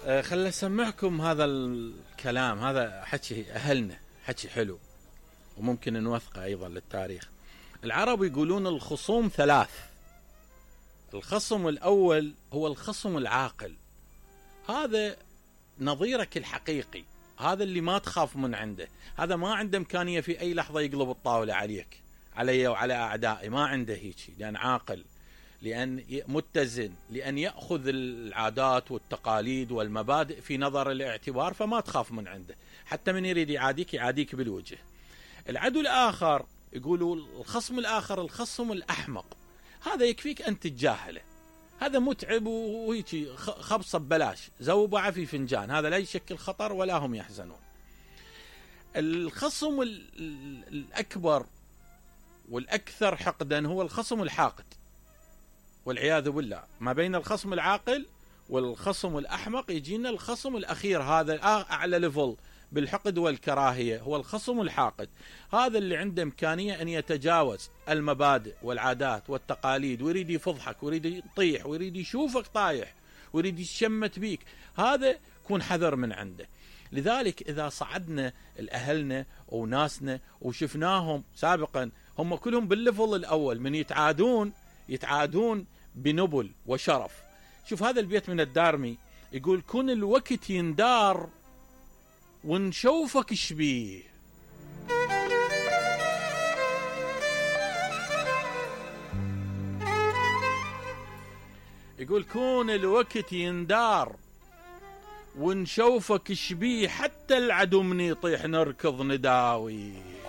خل اسمعكم هذا الكلام، هذا حكي اهلنا، حكي حلو وممكن نوثقه ايضا للتاريخ. العرب يقولون الخصوم ثلاث. الخصم الاول هو الخصم العاقل، هذا نظيرك الحقيقي، هذا اللي ما تخاف من عنده، هذا ما عنده امكانيه في اي لحظه يقلب الطاوله عليك، علي وعلى اعدائي، ما عنده هيك، لان عاقل، لأن متزن، لأن يأخذ العادات والتقاليد والمبادئ في نظر الاعتبار، فما تخاف من عنده، حتى من يريد يعاديك يعاديك بالوجه. العدو الآخر يقولوا الخصم الآخر الخصم الأحمق، هذا يكفيك أن تتجاهله، هذا متعب وهيك خبصة ببلاش، زوبعة في فنجان، هذا لا يشكل خطر ولا هم يحزنون. الخصم الأكبر والأكثر حقدا هو الخصم الحاقد والعياذ بالله. ما بين الخصم العاقل والخصم الأحمق يجينا الخصم الأخير، هذا أعلى ليفل بالحقد والكراهية، هو الخصم الحاقد، هذا اللي عنده إمكانية أن يتجاوز المبادئ والعادات والتقاليد، ويريد يفضحك ويريد يطيح ويريد يشوفك طايح ويريد يشمت بيك، هذا كون حذر من عنده. لذلك إذا صعدنا الأهلنا وناسنا وشفناهم سابقا هم كلهم بالليفل الأول، من يتعادون بنبل وشرف. شوف هذا البيت من الدارمي يقول كن الوقت يندار ونشوفك شبيه. يقول كون الوقت يندار ونشوفك شبيه، حتى العدو من يطيح نركض نداوي.